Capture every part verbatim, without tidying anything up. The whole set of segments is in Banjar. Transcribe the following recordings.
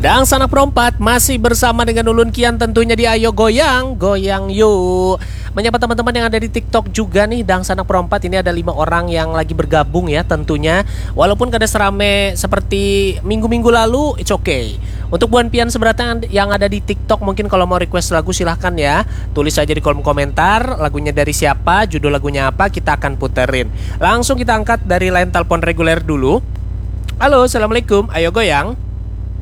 Dangsanak Perompat masih bersama dengan ulun Kian, tentunya di Ayo Goyang, Goyang Yuk. Menyapa teman-teman yang ada di TikTok juga nih, Dangsanak Perompat. Ini ada lima orang yang lagi bergabung ya tentunya. Walaupun kada serame seperti minggu-minggu lalu, it's okay. Untuk buan pian sebenarnya yang ada di TikTok, mungkin kalau mau request lagu silahkan ya. Tulis aja di kolom komentar, lagunya dari siapa, judul lagunya apa, kita akan puterin. Langsung kita angkat dari line telepon reguler dulu. Halo, assalamualaikum. Ayo Goyang.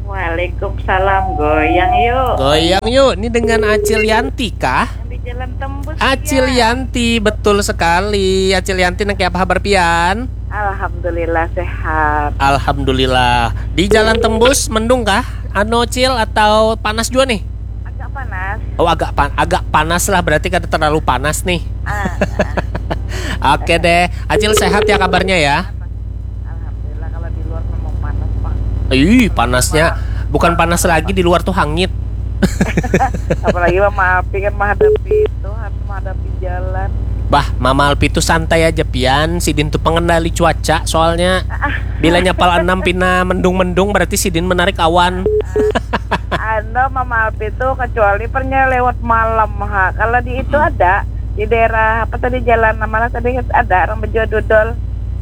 Waalaikumsalam, Goyang Yuk. Goyang Yuk, ini dengan Acil Yanti kah? Yang di Jalan Tembus. Acil ya. Yanti, betul sekali. Acil Yanti, nang kayak apa kabar pian? Alhamdulillah, sehat. Alhamdulillah. Di Jalan Tembus, mendung kah? Ano, Cil, atau panas juga nih? Agak panas. Oh, agak pan agak panas lah, berarti kada terlalu panas nih. Ah, ah. Oke deh, Acil sehat ya kabarnya ya? Alhamdulillah, kalau di luar memang panas, Pak. Ih, panasnya. Bukan panas lagi, di luar tuh hangit. Apalagi Mama Alpi kan menghadapi itu, harus menghadapi jalan. Bah, Mama Alpi tuh santai aja pian, sidin tuh pengendali cuaca soalnya. Bila nyapal enam pina mendung-mendung, berarti sidin menarik awan. Ando Mama Alpi tuh kecuali pernya lewat malam ha. Kalau di itu ada di daerah apa tadi, jalan mana tadi, ada orang berjual dodol.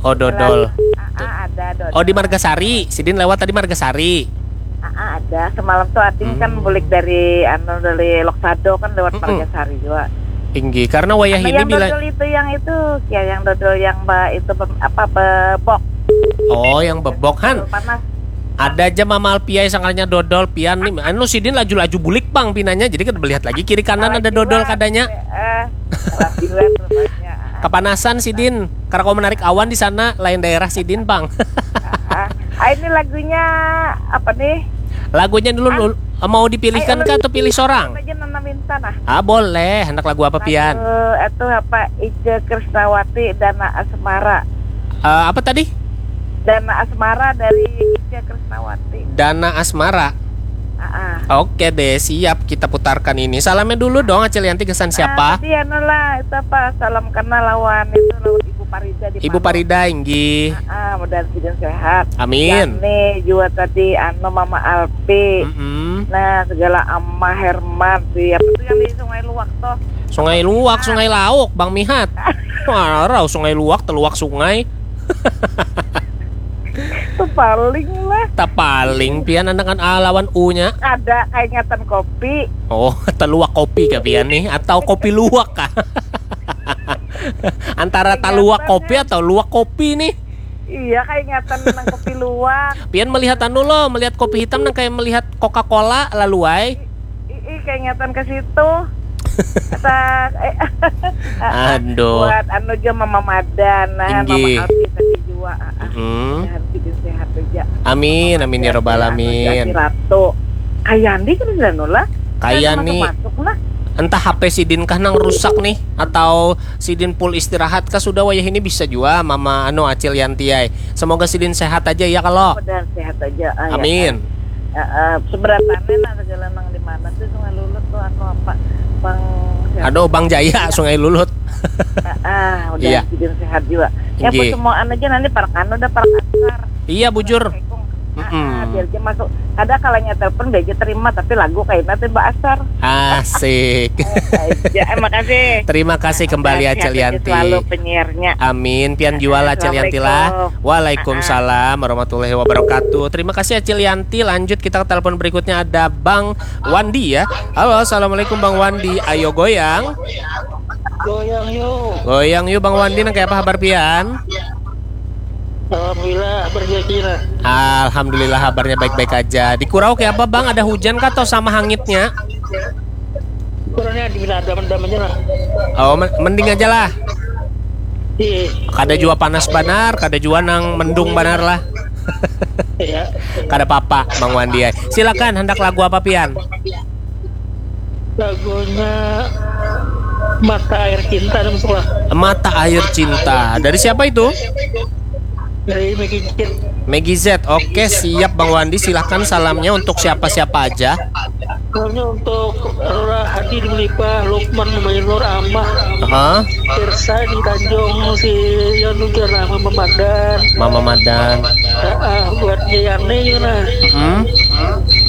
Oh, dodol. Ah, ah, ada dodol. Oh, di Margasari. Sidin lewat tadi Margasari. Ah, ah, ada. Semalam tuh Ating kan hmm. bulik dari anu dari Loksado kan lewat hmm. Margasari juga. Tinggi karena wayah anu ini yang bila dodol itu yang itu ya yang dodol yang ba itu be, apa bebok. Oh, yang bebok han. Panas. Ada aja Mama Alpiai sangkanya dodol pian nih. Anu sidin laju-laju bulik bang pinanya jadi kita melihat lagi kiri kanan ada dodol kadanya. Eh, kepanasan sidin karena kau menarik awan di sana lain daerah sidin bang. Ah, ah, ini lagunya apa nih? Lagunya dulu ah. Mau dipilihkan kah atau pilih seorang? Aja Nana minta nah. Ah boleh, hendak lagu apa pian? Itu apa Ica Krisnawati Dana Asmara. Uh, apa tadi? Dana Asmara dari Ica Krisnawati. Dana Asmara. Ah, ah. Oke deh, siap kita putarkan ini. Salamnya dulu dong Acil Yanti kesan siapa? Ah, tadi anu lah, itu apa? Salam kenal lawan itu lawan Ibu Parida di Ibu Parida inggih. Ah, ah, mudah-mudahan sehat. Amin. Ini juga tadi anu Mama Alpi. Mm -mm. Nah, segala Ama Herman di apa tuh yang di Sungai Luak toh? Sungai Luak, ah. Sungai Lauk, Bang Mihat. Marau Sungai Luak, teluak sungai. Paling lah. Tak paling pian anak kan A lawan U nya. Ada kaingatan kopi. Oh, teluak kopi kah pian nih atau kopi luak kah? Antara taluak kopi atau luak kopi nih. Iya, kaingatan nang kopi luak. Pian melihat anu lo, melihat kopi hitam nang kayak melihat Coca-Cola lalu ay. Ih, kaingatan ke situ. Kata eh, aduh. Buat anu juga Mama Madan, nah, Mama Alfi tadi juga. Ah, ah. Hmm. Sehat, sehat aja. Amin, amin ya robbal alamin. Ratu. Kayandi kan sudah nula. Kayani. Masuk, masuk, nah. Entah H P sidin kah nang rusak nih atau sidin full istirahat kah sudah wayah ini bisa juga Mama anu Acil Yanti ay. Semoga sidin sehat aja ya kalau. Mudah sehat aja. Ah, amin. Ya, uh, seberatannya nah segala nang di mana tuh Sungai Lulut tuh atau apa Bang Aduh Bang Jaya Sungai Lulut. Ah, uh, udah iya. Sidin sehat juga. Ya semua aja nanti para kanu udah para kasar. Iya bujur. Mm -mm. Ah, biar aja masuk. Ada kalanya telepon biar aja terima tapi lagu kayak nanti Mbak Asar. Asik. Ya, makasih. Terima kasih kembali Acil Yanti. Selalu penyiarnya. Amin. Pian jual Acil Yanti lah. Waalaikumsalam warahmatullahi wabarakatuh. Terima kasih Acil Yanti. Lanjut kita ke telepon berikutnya ada Bang Wandi ya. Halo, assalamualaikum Bang Wandi. Ayo goyang. Goyang yuk. Goyang yuk Bang Wandi. Nang kayak apa kabar pian? Alhamdulillah berjaki lah. Alhamdulillah kabarnya baik-baik aja. Di Kurau kayak apa Bang? Ada hujan kah atau sama hangitnya? Kurangnya di ada mendam aja lah. Oh, mending aja lah. Iya. Kada jua panas banar, kada jua nang mendung banar lah. Iya. Kada papa, Bang Wandi. Silakan, hendak lagu apa pian? Lagunya Mata Air Cinta masuk lah. Mata Air Cinta. Dari siapa itu? Dari Megi Z. Megi Z. Oke, siap Bang Wandi. Silahkan salamnya untuk siapa-siapa aja. Salamnya untuk Rora Hadi di Melipah, Lukman Mainur, Amah, Hah? Pirsa di Tanjung, si Yon juga lah, Mama Madan. Mama Madan. Ah, buat Yayane juga lah. Hmm?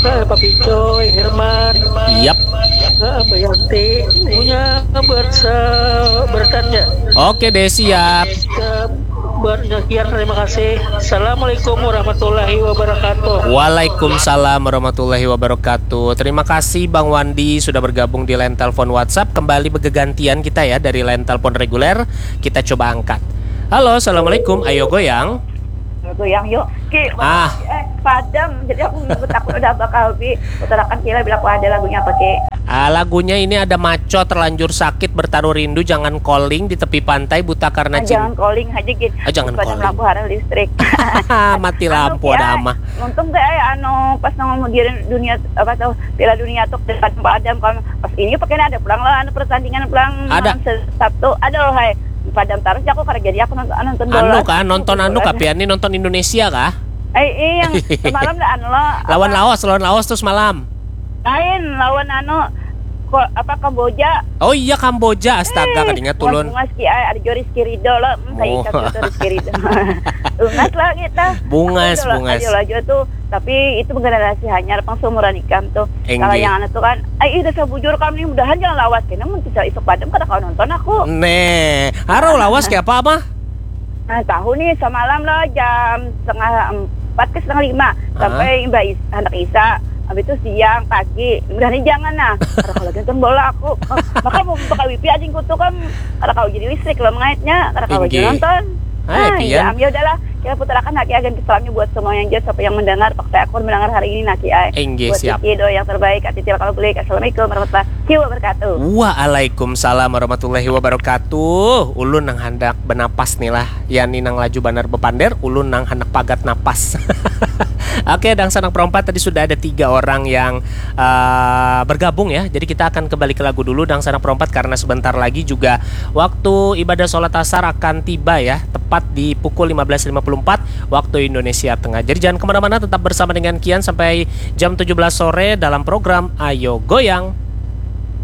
Pak Picoy, Herman, Yap. eh, Mbak Yanti, punya buat se- bertanya. Oke deh, siap. Eh, buat sekian, terima kasih. Assalamualaikum warahmatullahi wabarakatuh. Waalaikumsalam warahmatullahi wabarakatuh. Terima kasih Bang Wandi sudah bergabung di line telepon WhatsApp. Kembali bergantian kita ya dari line telepon reguler. Kita coba angkat. Halo, assalamualaikum. Ayo goyang. Goyang yuk. Ki, Ah. Eh, padam. Jadi aku ngikut aku udah bakal bi utarakan kira bila aku ada lagunya apa ki. Ah, lagunya ini ada Maco terlanjur sakit bertaruh rindu, jangan calling di tepi pantai buta karena Ah, cinta. Jangan calling aja gitu. Ah, jangan Padam calling. Lampu harus listrik. Mati lampu Anu, ada ya, ama. Untung kayak anu pas nongol di dunia apa tuh Piala Dunia tuh dekat padam kan pas ini pakai ada pulang lah anu pertandingan pulang Ada. Malam Se- Sabtu ada loh hai padam terus aku karena jadi aku nonton nonton bola. Anu kah, nonton anu kah, pian nih nonton Indonesia kah? Eh, iya yang semalam lah anu lo Lawan apa, Laos, lawan Laos tuh semalam. Lain lawan anu ko, apa Kamboja. Oh iya, Kamboja, astaga, Eh, kadingat tulun. Bungas ki ai ada jo Rizky Ridho lo. Hmm, saya Oh. ikat betul Rizky Ridho. Bungas lah kita. Bungas, Aduh, bungas. Ayo lah juga tuh. Tapi itu generasi hanyar pang seumuran ikam tuh. Enggih. Kalau yang anak tuh kan, ay udah sabujur kamu nih mudahan jangan lawas kena mun bisa isuk padam kada kau nonton aku. Nih, harau lawas kayak apa, apa? Nah, tahu nih semalam lah jam setengah empat ke setengah lima sampai mbak Is anak Isa. Habis itu siang pagi, mudahan jangan nah. Karena kalau lagi nonton bola aku, maka mau buka wifi aja kutu kan, karena kau jadi listrik lo mengaitnya, karena kau Inggih. jadi nonton. Hai, Ah, pian. Iya, ya udahlah, kita putarakan haki agen salamnya buat semua yang jauh, siapa yang mendengar, pakai akun mendengar hari ini naki ai. Inggih, Buat siap. Kiki doa yang terbaik, Ati Tilakal Gulik. Assalamualaikum warahmatullahi wabarakatuh. Waalaikumsalam warahmatullahi wabarakatuh. Ulun nang handak benapas nih lah. Yani nang laju banar bepander, ulun nang handak pagat napas. Oke, dangsanak perompat tadi sudah ada tiga orang yang eh, bergabung ya. Jadi kita akan kembali ke lagu dulu, dangsanak perompat, karena sebentar lagi juga waktu ibadah sholat asar akan tiba ya, tepat di pukul lima belas lima puluh empat waktu Indonesia Tengah. Jadi jangan kemana-mana, tetap bersama dengan Kian sampai jam tujuh belas sore dalam program Ayo Goyang.